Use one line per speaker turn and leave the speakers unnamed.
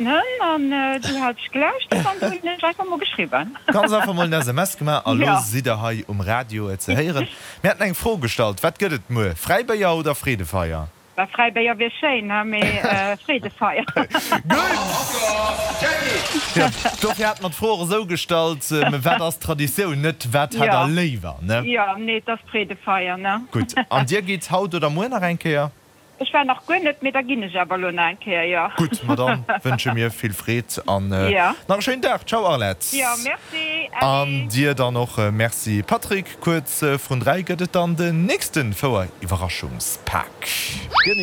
An du hat ech gelauschtert an du hunn ech einfach mol geschriwwen.
Ganz einfach mol en SMS gemaach a lo sidd der hei um Radio ze héieren. Mir haten eng Fro gestallt, Wat gëtt et muer, Fräibéier oder Freedefeier?
Bah, Fräibéier wier schéin, he, mee Freedefeier.
Gutt! Jo, dofir hate mer d'Fro och esou gestallt, Wat ass Traditioun, net wat hätt der léiwer, ne?
Jo, nee, et ass Freedefeier, ne?
Gutt. An dir gitt haut oder muer nach eng Kéier?
Ech war nach guer net, mee da ginn ech awer elo nach eng Kéier, jo.
Gutt, ma dann wënsche mir vill Freed an nach e schéinen Dag. Ciao Arlette.
Jo, merci,
An
allez.
dir dann och Merci Patrick. Kuerz vrun 3 gëtt et dann den nächste Fouer-Iwwerraschungspak.